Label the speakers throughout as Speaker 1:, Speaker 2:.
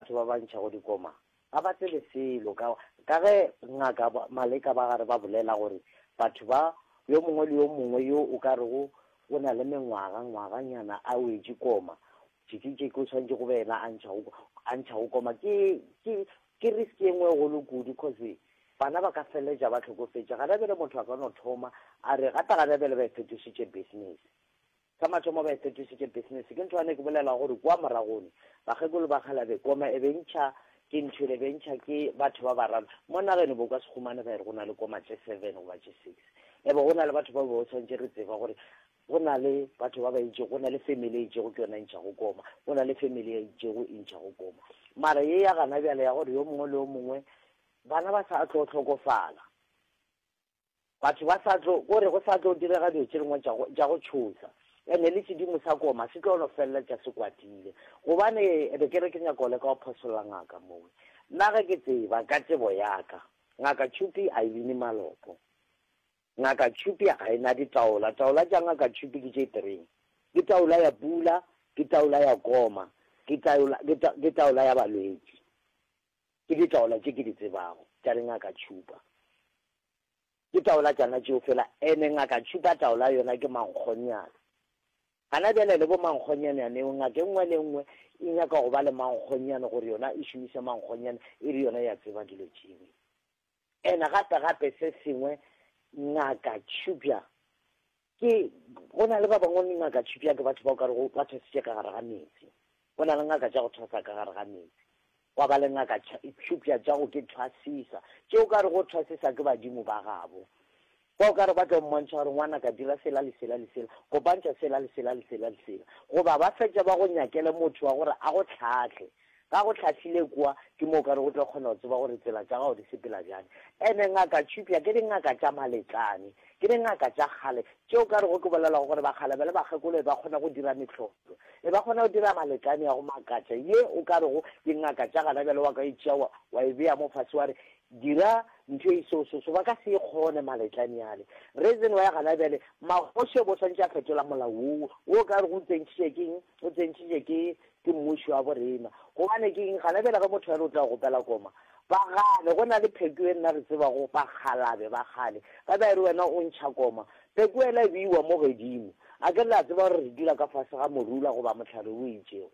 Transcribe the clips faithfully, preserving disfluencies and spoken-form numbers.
Speaker 1: batho ba ba ntšhago dikoma ga ba tsebe selo ka ka ge ngaka Maleka ba gare ba bolela gore batho ba yo mongwe le yo mongwe yo o ka rego o na le mengwaga ngwaganyana a wetše koma tšikitšiki o swanetše go be yena a ntšhago a ntšhago koma ke ke ke risk e nngwe e golo kudu cause bana ba ka feleletša ba hlokofetše gana bjale motho a ka no thoma a re gape gana bjale ba e fetošitše business sa mathomo ba e fetošitše business ke ntho ane ke bolela gore kua moragone bakgekolo ba kgalabe koma e be ntšha ke ntho e be ntšha ke batho ba bararo mo nageng bo ka se humane ba re go na le koma tše seven goba tše six e be go na le batho ba bo tshwanetse re tseba gore go na le batho ba ba itšego go na le family e itšego ke yona e ntšhago koma go na le family e itšego e ntšhago koma mara ye ya gana bjale ya gore yo mongwe le yo mongwe bana ba sa tlo hlokofala batho ba sa tlo kore go sa tlo direga dilo tše dingwe tša go tshosa ene le sedimo sa koma se tlo no feleletša se kwatile gobane be ke re ke nyaka go leka go phosolla ngaka mowe nna ge ke tseba ka tsebo yaka ngaka Tšhupi a e bine malopo ngaka Tšhupi ga e na ditaola taola tša ngaka Tšhupi ke tše three ke taola ya pula ke taola ya koma ke taola ke taola ya balwetši ke ditaola tše ke di tsebago tša dingaka Tšhupa ke taola tšana tšeo fela ene ngaka Tšhupa taola yona ke mankgonyana gana bjale le bo mankgonyanyaneo ngaka e nngwe le nngwe e nyaka go ba le mankgonyane gore yona e šomiše mankgonyane e re yona ya tseba dilo tšewe ene gape gape se sengwe ngaka Tšhupja ke go na le ba bangwe ngaka Tšhupja ke batho ba o ka rego ba thwasitše ka gare ga metsi go na le ngaka tša go thwasa ka gare ga metsi gwa ba le ngaka tšhupja tša go ke thwasisa tše o ka re go thwasisa ke badimo ba gabo kwa o ka re ba tlo mmontšha gore ngwana ka dira sela le sela le sela kopantšha sela le sela le sela le sela goba ba fetša ba go nyakele motho wa gore a go tlhatlhe ga go tlhahlile kua ke mo o ka re go tlo kgona go tseba gore tsela tša gago di sepela bjang ene ngaka tšhupja ke dingaka tša maletlane ke dingaka tša kgale tšeo ka rego ke bolelago gore bakgale ba le bakgekolo e ba kgona go dira mehlolo e ba kgona go dira maletlane ya go makatša ye o ka rego dingaka tša gana bjale wa ka e tšea wa e bea mo fase wa re dira ntho e so so so ba ka se e kgone maletlane yale reason wa ya gana bjale magoši bo swantše a fetola molao wo wo ka re go tsentšhitše keng o tsentšhitše ke ke mmušo wa borena gobane ke eng gana bjale ge motho a re o tla gopela koma ba gane go na le pheko e nna re tsebago bakgalabe ba kgale ba ba re wena o ntšha koma pheko ela e beiwa mo godimo a ke re la tseba gore re dula ka fase ga morula goba mohlare o itšego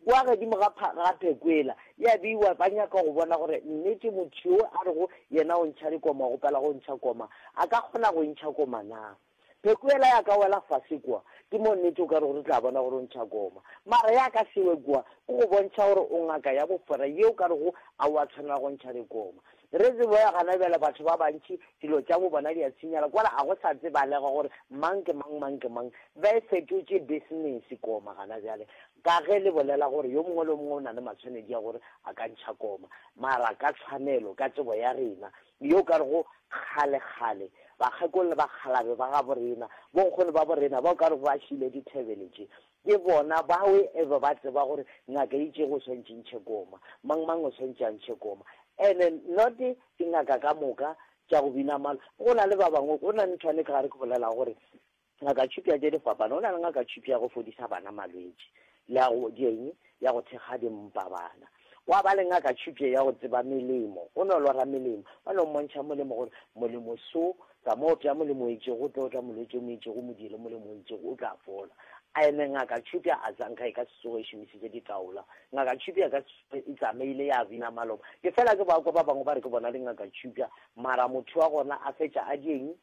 Speaker 1: kwa godimo ga ga pheko ela ya beiwa ba nyaka go bona gore nnete motho yo a rego yena o ntšha dikoma gopela go ntšha koma a ka kgona go ntšha koma na pheko ela ya ka wela fase kua ke mo nnete o ka re gore tla bona gore o ntšha koma mara ya ka sewe kua ke go bontšha gore o ngaka ya bofora yeo ka rego a wa tshwanela go ntšha dikoma re tsebo ya gana bjale batho ba bantši dilo tša bo bona di a tshenyala kwala a go sa tsebalega gore mang ke mang mang ke mang ba e fetotše business koma gana bjale ka ge le bolela gore yo mongwe le mongwe o na le matshwanedi ya gore a ka ntšha koma mara ka tshwanelo ka tsebo ya rena yo ka rego kgale-kgale bakgekolo le bakgalabe ba ga borena bonkgono ba borena ba o ka re ba šile dithebele tše ke bona bawe e be ba tseba gore ngaka e itšego o swantše ntšhe koma mang mang o swantše a ntšhe koma and not dingaka ka moka tša go bina malo go na le ba bangwe go na le nthwane ka gare ke bolela gore ngaka tšhupja tše di fapana go na le ngaka tšhupja ya go fodisa bana malwetši le ya go dieng ya go thekga dimpa bana wa ba le ngaka tšhupja ya go tseba melemo o no lora melemo ba no mmontšha molemo gore molemo so tsa mo pja molemo o itšego o tlo tla molwetši o mo itšego mo diele molemo o itšego o tla fola ene ngaka tšhupja a tsanka e ka se tsoge e šomišitše ditaola ngaka tšhupja ka se e tsamaile ya bina maloba ke fela ke ba kwa ba bangwe ba re ke bona dingaka tšhupja mara motho wa gona a fetša a dieng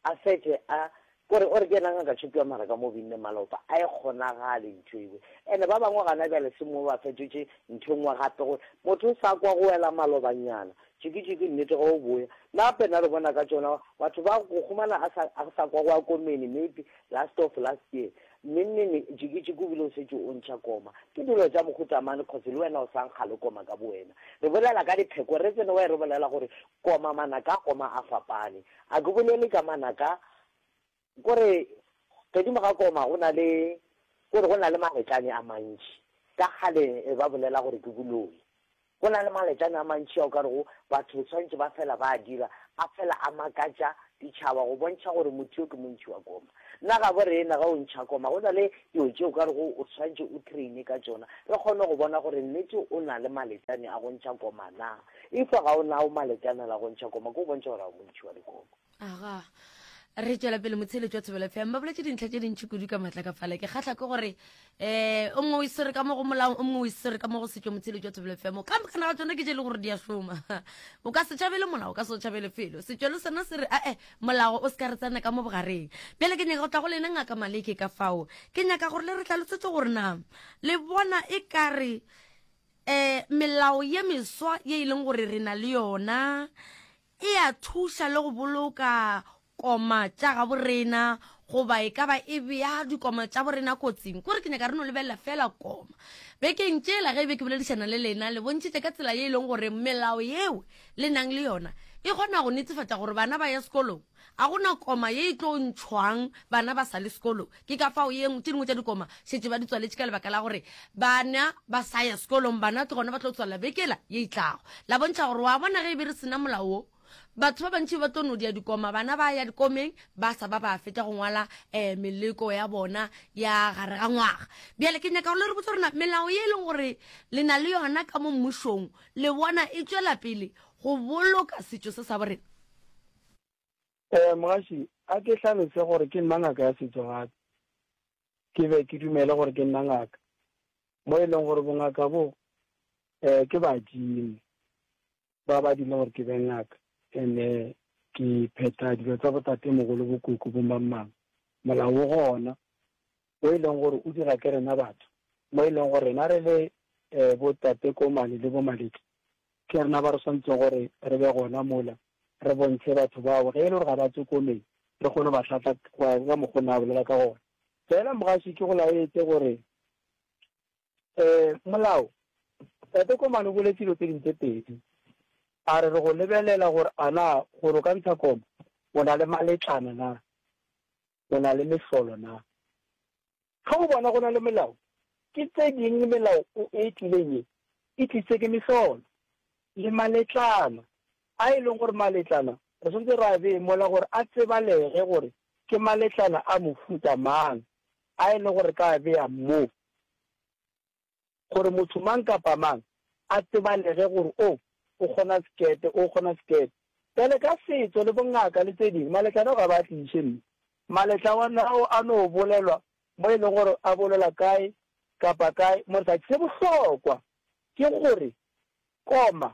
Speaker 1: a fetše a kore o re ke yena ngaka tšhupja mara ka mo binne malopa a e kgonagale ntho ewe ene ba bangwe gana bjale se mo ba fetotše ntho e nngwe gape gore motho o sa kwa go wela malobanyana tšikitšiki nnete ge o boya nna gape nna re bona ka tšona batho ba go humana a sa a sa kwa go ya komene maybe last of last year nnennene tšikitšiki o bile o setse o ntšha koma ke dilo tša mohutamane cause le wena o sa nkga le koma ka bo wena re bolela ka dipheko re tsene wa re bolela gore koma manaka a koma a fapane a ke bolele ka manaka kore godimo ga koma go na le kore go na le maletlane a mantši ka kgale e ba bolela gore ke boloi go na le maletlane a mantši ao ka rego batho tshwanetse ba fela ba a dira a fela a makatša ditšhaba go bontšha gore motho yo ke montšhi wa koma. Nna gabo rena ge o ntšha koma go na le dilo tše o ka rego o swanetše o traine ka tšona, re kgone go bona gore nnete o na le maletšane a go ntšha koma na. If ga o nao maletšane la go ntšha koma, ke go bontšha gore ga o montšhi wa dikoma.
Speaker 2: Aga, re tšwela pele motsheletšo wa Thobela F M. Ba boletše dintlha tše dintši kudu ka matla ka fale. Ke kgahla ke gore um o mongwe o iswere ka mo go molao, o mongwe o iswere ka mo go setšo. Motsheletšo wa Thobela F M ka mokana ga tsona ke tše e le gore di a šoma. O ka se tšhabele molao, o ka se o tšhabele felo. Setšo le sona se re ae molao o se ka re tsena ka mo bogareng. Bjale ke nyaka go tla go lena Ngaka Maleke ka fao. Ke nyaka gore le re hlalosetse gore na le bona e ka re um melao ye meswa ye e leng gore re na le yona e a thuša le go boloka koma tša gabo rena, goba e ka ba e bea dikoma tša borena kotsing. Kore ke nyaka re no lebelela fela koma. Bekeng tšela ge e be ke boledišana le lena, le bontšhitše ka tsela ye e leng gore melao yeo le nang le yona e kgona go netefatša gore bana ba ya sekolong. A gona koma ye e tlo ntšhwang bana ba sa le sekolong. Ke ka fao ye tše dingwe tša dikoma šetše ba di tswaletše ka lebaka la gore bana ba sa ya sekolong, bana ke gona ba tlo tswalela bekela ye e tlago. La bontšha gore wa bona ge e be re sena molao wo, batho ba bantši ba tlo no dia dikoma, bana ba ya dikomeng ba sa ba ba fetša go ngwala um meleko ya bona ya gare ga ngwaga. Bjale ke nyaka gore le re botse gore melao ye e leng gore le na le yona ka mo mmušong le bona e tšwela pele go boloka setšo se sa borena.
Speaker 3: Um mogaši, a ke hlalose gore ke nna ngaka ya setšo gape. Ke be ke dumele gore ke nna ngaka. Mo e leng gore bongaka bo um ke badimo ba ba dile gore ke be ngaka. Ene ke phetha dilo tsa botatemogolo bokoko bo mang. Molao o gona o e leng gore o dira ke rena batho, mo e leng gore rena re le um botate Komane le bo Maleke, ke rena ba re swanetseng gore re be gona mola re bontshe batho bao ge e le gore ga ba tswe komeng, re kgone ba hlatla go ya ka mokgwa o ne a bolela ka gona. Fela mogaši ke go laetse gore um molao, tate Komane o boletse dilo tse dingwe tse pedi. A re re go lebelela gore a na gore o ka ntsha koma o na le maletlana na, o na le mehlolo na. Ge o bona go na le melao, ke tse dingwe melao e tlileng ye e tlisitse ke mehlolo le maletlana a e leng gore maletlana re swanetse ra bee mola gore a tsebalege gore ke maletlana a mofuta mang a e leng gore ka bea mo, gore motho mang kapa mang a tsebalege gore o o kgona sekete, o kgona sekete. Bjale ka setšo le bongaka le tse dingwe, maletlana ao ga ba tliše mme. Maletlana ao a no bolelwa mo e leng gore a bolelwa kae kapa kae mo re sa. Se bohlokwa ke gore koma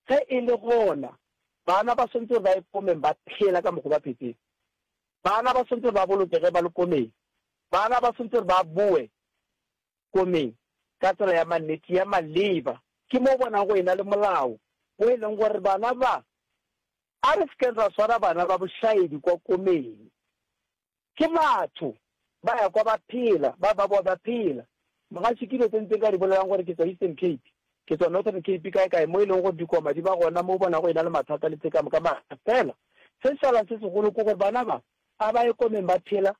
Speaker 3: ge e le gona, bana ba swanetse gore ba ye komeng ba phela ka mokgwa ba phetseng. Bana ba swanetse gore ba bolokege ba le komeng. Bana ba swanetse gore ba boe komeng ka tsela ya mannete ya maleba. Ke mo bonang go ena le molao o e leng gore bana ba a re sekeng ra swara bana ba bošaedi kwa komeng. Ke batho ba ya kwa ba phela, ba ba boa ba phela. Mogaši ke dilo tse ntse nka di bolelang gore ke tswa Eastern Cape, ke tswa Northern Cape kae kae mo e leng gore dikoma di ba gona mo bona go ena le mathata le tse ka moka. Mara fela se šalang se segolo ke gore bana ba a ba ye komeng ba phela,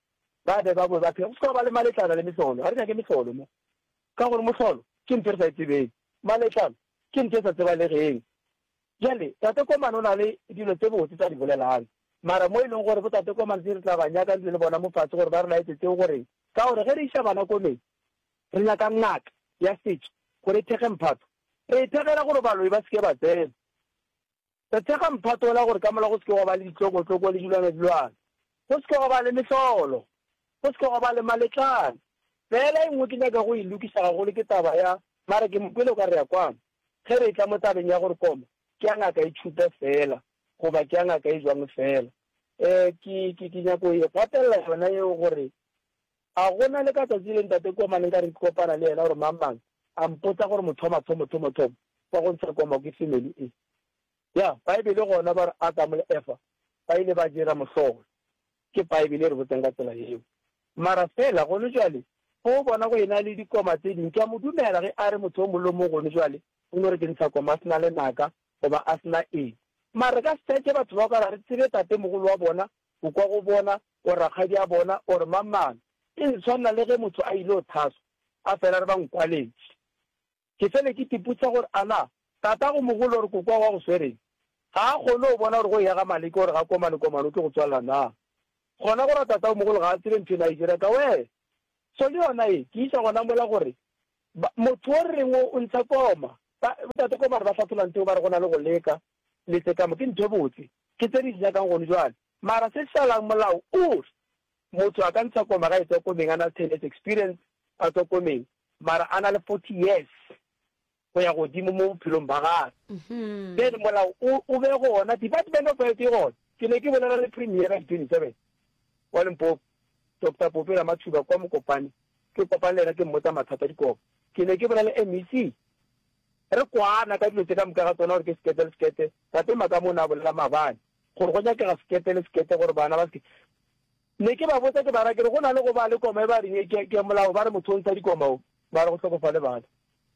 Speaker 3: ba be ba boe ba phela. Go se ka ba le maletlana le mehlolo, ga re nyake mehlolo mo, ka gore mohlolo ke ntho e re sa e tsebeng, maletlana ke ntho e sa tsebalegeng. Bjale tate Komane o na le dilo tse botse tsa di bolelang, mara mo e leng gore bo tate Komane se re tla ba nyaka ntse le bona mo fatshe gore ba re laetse tseo goreng, ka gore ge re iša bana komeng re nyaka ngaka ya setšo gore e thekge mphato. Re e thekgela gore baloi ba seke ba tsena. Re thekga mphato la gore ka mola go seke gwa ba le ditlokotloko le dilwana-dilwana, go seke gwa ba le mehlolo, go seke gwa ba le maletlana. Fela e nngwe ke nyaka go e lokiša gagolo ke taba ya mara ke mokwele o ka re ya kwana ge re tla mo tabeng ya gore koma ke ya ngaka e tšhupe fela goba ke ya ngaka e jwang fela. Um ke ke ke nyako e gatelela yona eo gore a gona le ka tsatsi le ntate Komane nka re ke kopana le yena gore mang mang a mpotsa gore motho wa mathomo thomo thomo wa go ntsha koma ke family e. Ya Bible gona ba re Adam le Eva ba ile ba dira mohlolo, ke Bible e re botseng ka tsela yeo. Mara fela gone jwale go bona go ena le dikoma tse dingwe, ke a mo dumela ge a re motho o mongwe le mongwe gone jwale o no re ke ntsha koma a sena lenaka goba a sena eng. Mara ka setse batho ba ka re tsebe tatemogolo wa bona, kokwa go bona, or rakgadi a bona, or mang mang. E ntshwanela le ge motho a ile o thaswa a fela re ba nkwaletše. Ke fele ke tipotsa gore ana tata go mogolo gore kokwa wa go swereng Ga a kgone go bona gore go eya ga Maleke gore ga Komane Komane o tlo go tswalela na. Gona go ra tatagomogolo ga a tsebe ntho ena a e dira ka wee. So le yona e, ke isa gona mola gore ba, motho o re reng o, o ntsha koma. Ba, tate Komane ba hlatholla ntho eo ba re go na le go leka le tse ka mo, ke ntho e botse. Ke tse re di nyakang gone jwale. Mara se šalang molao o re motho a ka ntsha koma ga e tswa komeng a na le ten years experience a tswa komeng mara a na le forty years go ya godimo mo bophelong ba gagwe. Then molao o, o be gona, Department of Health e gona. Ke ne ke bolela le Premier ka di twenty seven wa Limpopo, Doctor Pope Ramathuba kwa Mokopane, ke kopane le yena ke mmotsa mathata a dikobo. Ke ne ke bolela le M E C, re kwana ka dilo tše ka moka ga tsona gore ke sekete le sekete. Tate Makamo o ne a bolela maabane gore go nyakega sekete le sekete gore bana ba seke. Ne ke ba botsa ke ba ra ke re go na le go ba le koma e ba reng ke, ke molao ba re motho o ntsha dikoma o, ba re go hlokofale bana.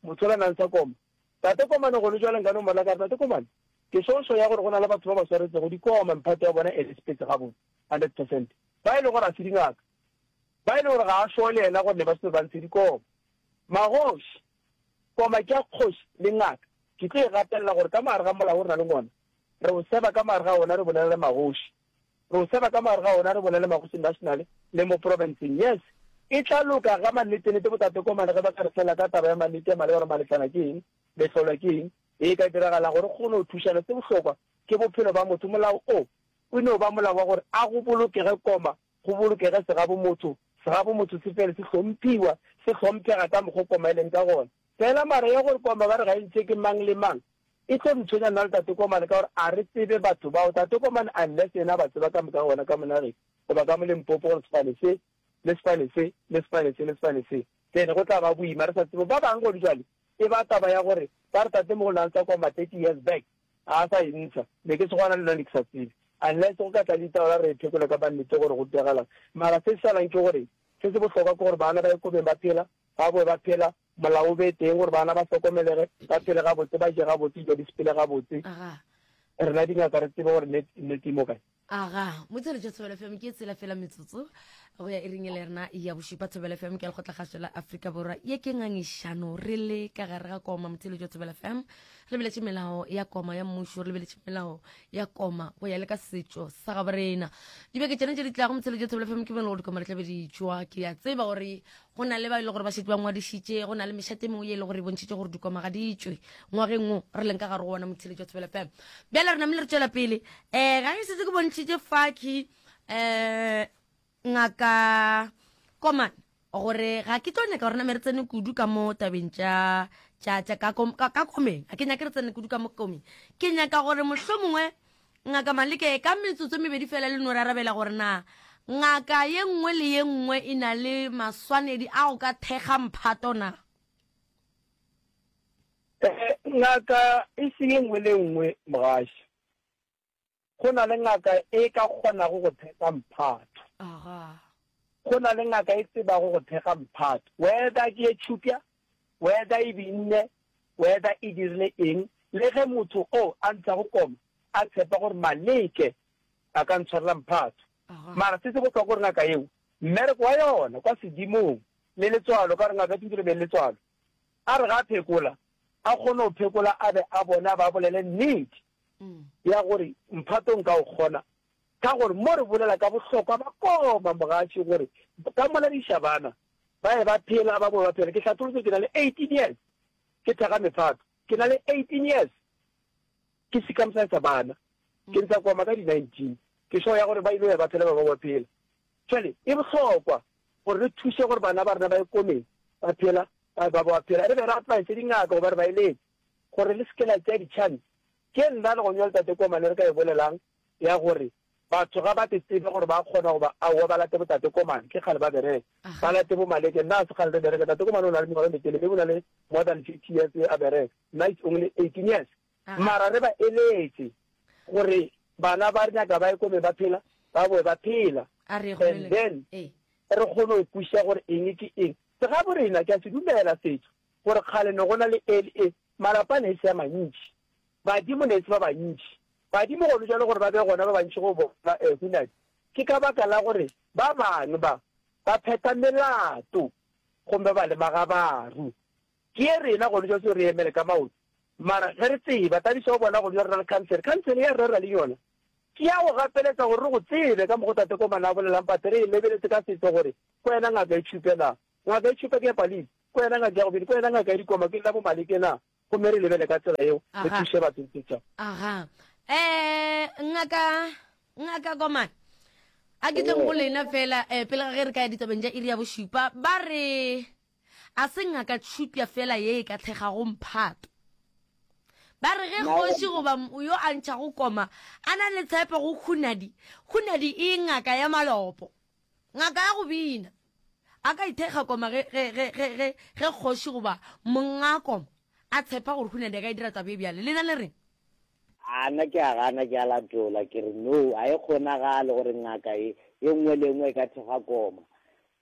Speaker 3: Motho ola na ntsha koma. Tate Komane gone jwale nka no mmolela ka re Tate Komane, ke šošo ya gore go na le batho ba ba swaretsego dikoma mphato ya bona e le sepetse gabotse hundred percent. Ba e le gore a se dingaka. Ba e le gore ga a sure le yena gore ne ba se ba ntshe dikoma. Magoši, koma ke ya kgoši le ngaka. Ke tlo e gatelela gore ka mogare ga molao o re na le ona, re o seba ka mogare ga ona re bolela le magoši. Re o seba ka mogare ga ona re bolela le magoši national le mo provinceng. Yes, e tla loka ga mannetenete bo Tate Komane ge ba ka re fela ka taba ya mannete ya maleba gore maletlana ke eng, mehlolo ke eng, e ka diragalang gore re kgone go thušana. Se bohlokwa ke bophelo ba motho. Molao o o no ba molao wa gore a go bolokege koma, go bolokege segabo motho, segabo motho se fele se hlomphiwa, se hlomphega ka mokgo koma e leng ka gona. Fela mara ya gore koma ba re ga e ntšhe ke mang le mang, e tlo re tshwenya nna le Tate Komane ka gore a re tsebe batho bao. Tate Komane unless yena a ba tseba ka moka gona ka monageng goba ka mo Limpopo gore sefane se le sefane se le sefane se le sefane se, then go tla ba boima re sa tsebe. Ba bangwe gone jwale e ba taba ya gore ba re tate mogolo na ntsha koma thirty years back ga a sa e ntsha, ne ke segwana le nna ne ke sa tsebe. Unless go ka tla le ditaba la re e phekole ka mannete gore go diragalang. Mara se se salang ke gore se se bohlokwa ke gore bana ba ye komeng ba phela, ba boe ba phela, molao o be teng gore bana ba hlokomelege, ba phele gabotse, ba je gabotse, dilo di sepele gabotse.
Speaker 2: Aga.
Speaker 3: Rena dingaka re tsebe gore nnete, nnete e mo kae.
Speaker 2: Aga, motswedi Thobela F M ke tsela fela metsotso go ya iring e le rena ya bošupa. Thobela F M ke lekgotlakgašo la Afrika Borwa, ye ke ngangišano re le ka gare ga koma. Motswedi Thobela F M re lebeletše melao ya koma ya mmušo, re lebeletše melao ya koma go ya le ka setšo sa gabo rena. Dibeke tšena tše di tlago Motswedi Thobela F M ke mo e leng gore dikoma di tla be di tšwa. Ke a tseba gore go na le ba e leng gore ba šetše ba ngwadišitše, go na le mešate e mengwe ye e leng gore e bontšhitše gore dikoma ga di tšwe ngwageng wo re leng ka gare go ona. Motswedi Thobela F M bjale re namile re tšwela pele. Eh, ga ke setse ke bontšhitše faki eh ngaka Komane gore ga ke tlo nyaka gore name re tsene kudu ka mo tabeng tša, tša, tša ka kom-, ka, ka komeng. Ga ke nyake re tsene kudu ka mo komeng. Ke nyaka gore mohlomongwe ngaka Maleke ka metsotso e mebedi fela le no re arabela gore na ngaka ye nngwe le ye nngwe e na le maswanedi a go ka thekga mphato na?
Speaker 3: Eh, ngaka e se ye nngwe le nngwe mogaši. Go na le ngaka e ka kgonago go thekga mphato.
Speaker 2: Aga.
Speaker 3: Go na le ngaka e tsebago go thekga mphato. Whether ke e tšhupja, whether e binne, whether e dirile eng, le ge motho o a ntshago koma a tshepa gore Maleke a ka ntshwarela mphato.
Speaker 2: Aga.
Speaker 3: Mara se se bohlokwa gore ngaka yeo mmereko wa yona kwa sedimong le letswalo, ka gore ngaka tshwanetse re be le letswalo, a re ga a phekola a kgone go phekola, a be a bone, a ba bolele nnete ya gore mphato nka o kgona. Ka gore mo re bolela ka bohlokwa ba koma mogaši gore ka mola diša bana ba ye ba phela, ba boe ba phela. Ke hlatholotse ke na le eighteen years ke thekga mephato, ke na le eighteen years ke circumcise bana, ke ntsha koma ka di nineteen, ke sure ya gore ba ile ya ba phela, ba ba phela. Jwale e bohlokwa gore re thuse gore bana ba rena ba ye komeng ba phela, ba ba ba phela. Re be re advise dingaka goba re ba eletse gore le seke la tšea di-chance. Ke nna le go nyola tate Komane re ka e bolelang ya gore batho ga ba te tsebe gore ba kgona goba aowa ba late bo tate Komane, ke kgale ba bereka, ba late bo Maleke. Nna ga se kgale re bereka, tate Komane o na le mengwaga e metelele, maybe o na le more than fifty years a bereka, nna it's only eighteen years. Mara re ba eletse gore bana ba re nyaka ba ye komeng ba phela, ba boe ba phela, and then re kgone go kwešiša gore eng ke eng. Segabo rena ke a se dumela setšo gore kgale ne go na le e le e, malapa ne e se a mantši, badimo ne e se ba bantši. Badimo gone jwale gore ba be gona ba bantši go bona, eh, Hunadi, ke ka baka la gore ba bangwe ba ba phetha melato gomme ba le magabaru. Ke ye rena gone jwale seo re emele ka maoto, Mara ge re tseba, Thabiso o bona go dula re na le khansele. Khansele ya rera le yona ke ya go gapeletsa gore re go tsebe ka mokgo Tate Komana a bolelang, but re e lebeletse ka setso gore ke wena ngaka e tšhupe na? Ngaka e tšhupe ke ya Palisi, ke wena ngaka ya go bina, ke wena ngaka ya dikoma, ke nna bo Maleke na? Gomme re lebele ka tsela yeo, re
Speaker 2: Aga.
Speaker 3: thuše batho le setšhaba.
Speaker 2: Aga. Eh, ngaka, ngaka Komana, a ke tleng go lena fela eh, pele ga ge re ka ya ditabeng tša iri ya bošupa. Ba re a se ngaka tšhupja fela ye e ka tlhegago mphato. Ba re ge kgoši goba yo a ntšhago koma a na le tshepo go Hunadi, Hunadi e ngaka ya malopo, ngaka ya go bina, a ka ithekga koma ge, ge, ge, ge, ge, ge kgoši goba monga koma a tshepa gore Hunadi a ka e dira taba e bjale. Lena le reng?
Speaker 1: A nna ke a gana, ke a latola, ke re no, a e kgonagale gore ngaka e, e nngwe le e nngwe e ka thekga koma.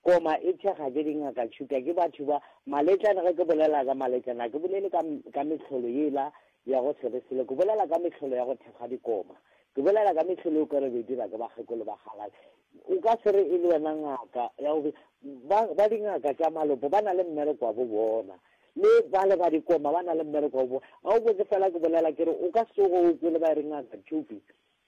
Speaker 1: Koma e thekga ke dingaka tšhuta, ke batho ba maletlane. Ge ke bolela ka maletlane, ga ke bolele ka, ka mehlolo yela ya go se re selo, ke bolela ka mehlolo ya go thekga dikoma. Ke bolela ka mehlolo e o ka re be dira ke bakgekolo ba kgalale. O ka se re e le wena ngaka ya go ba, ba dingaka tša malopo ba na le mmereko wa bo bona, le ba le ba dikoma ba na le mmereko wa bo bona. Ga o kwe ke fela ke bolela ke re o ka se tsoge o kwele ba re ngaka tšhupi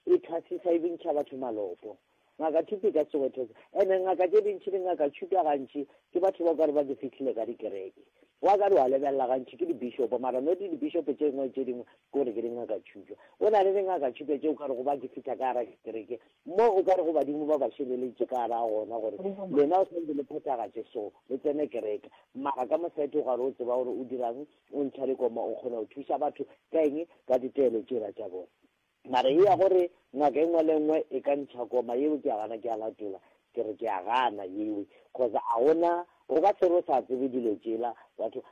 Speaker 1: e thwasisa e bintšha batho malopo. Ngaka tšhupi e ka se tsoge e thwasisa. Ene ngaka tše dintši dingaka tšhupi gantši ke batho ba o ka re ba di fihlile ka dikereke. Wa ka re wa lebelela gantši ke di-bishop, mara no di di-bishop tše dingwe tše dingwe ke gore ke dingaka tšhupi. O na le dingaka tšhupi tše o ka re go ba ke fihla ka gara kereke mo o ka re go badimo ba ba šeleletše ka gara gona gore lena o santse le phethagatše so le tsene kereke. Mara ka mosadi o gare o tseba gore o dirang, o ntšha dikoma, o kgona go thuša batho ka eng, ka ditaelo tšela tša bona. Mara e ya gore ngaka e nngwe le nngwe e ka ntšha koma yeo ke a gana, ke a latola, ke re ke a gana yeo, cause a gona o ka se re o sa tsebe dilo tšela batho.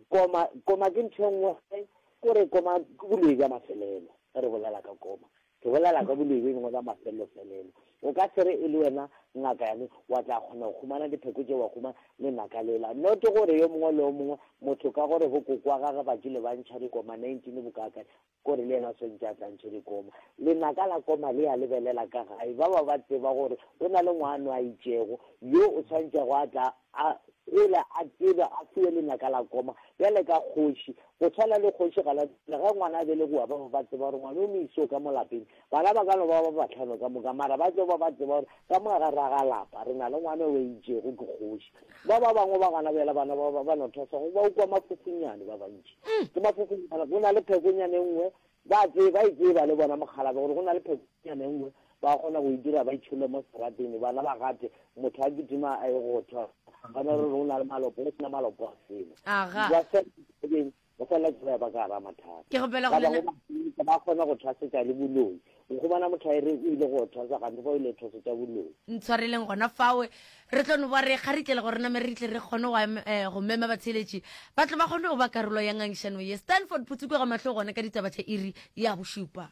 Speaker 1: Koma, koma ke ntho e nngwe, kore koma ke boloi bja mafelelo. Ge re bolela ka koma, ke bolela ka boloi bjo bongwe bja mafelelo-felelo. O ka se re e le wena ngaka yane wa tla kgona go humana dipheko tše, wa humana lenaka lela. Not gore yo mongwe le yo mongwe motho ka gore bo kokwa gage ba kile ba ntšha dikoma nineteen bokakae, kore le yena o swantše a tla ntšhe dikoma. Lenaka la koma le ya lebelela ka gae, ba ba ba tseba gore o na le ngwano a itšego yo o tshwantšego a tla a gole a tsebe a fiwe lenaka la koma bjale ka kgoši. Go tshwana le kgoši ga la ge ngwana a belegiwa, ba ba ba tseba gore ngwana o mo iso ka mo lapeng. Bana ba ka no ba ba bahlano ka moka, mara ba tlo ba ba tseba gore ka mo gare ga lapa re na le ngwana o itšego ke kgoši. Ba ba bangwe ba gana bjale bana ba ba no thwasa go ba ukwa mafufunyane ba bantši. Ke mafufunyane, go na le phekonyane e nngwe ba tseba, ba e tseba le bona mokgalabje gore go na le phekonyane e nngwe ba kgona go e dira ba itšhole mo serateng, bana ba gate motho a kitima a ye go thwa gona re go na le malopo, go sena malopo a selo.
Speaker 2: Aga.
Speaker 1: Ba fela ba fela ba ba ka gara mathata.
Speaker 2: Ke gopela go
Speaker 1: Ba
Speaker 2: lena
Speaker 1: bangwe ba kgona go thwasetša le boloi. O humana motho a re o ile go thwasa gantsi fa o ile thwasetša boloi.
Speaker 2: Ntshwareleng gona fawe, re tlo no ba re kgaritlele gore name re tle re kgone go em-, eh, go mema batheeletši ba tle ba kgone go ba karolo ya ngangišano ye. Stanford Phutsukwe ga mahlo gona ka ditaba tša iri ya bošupa.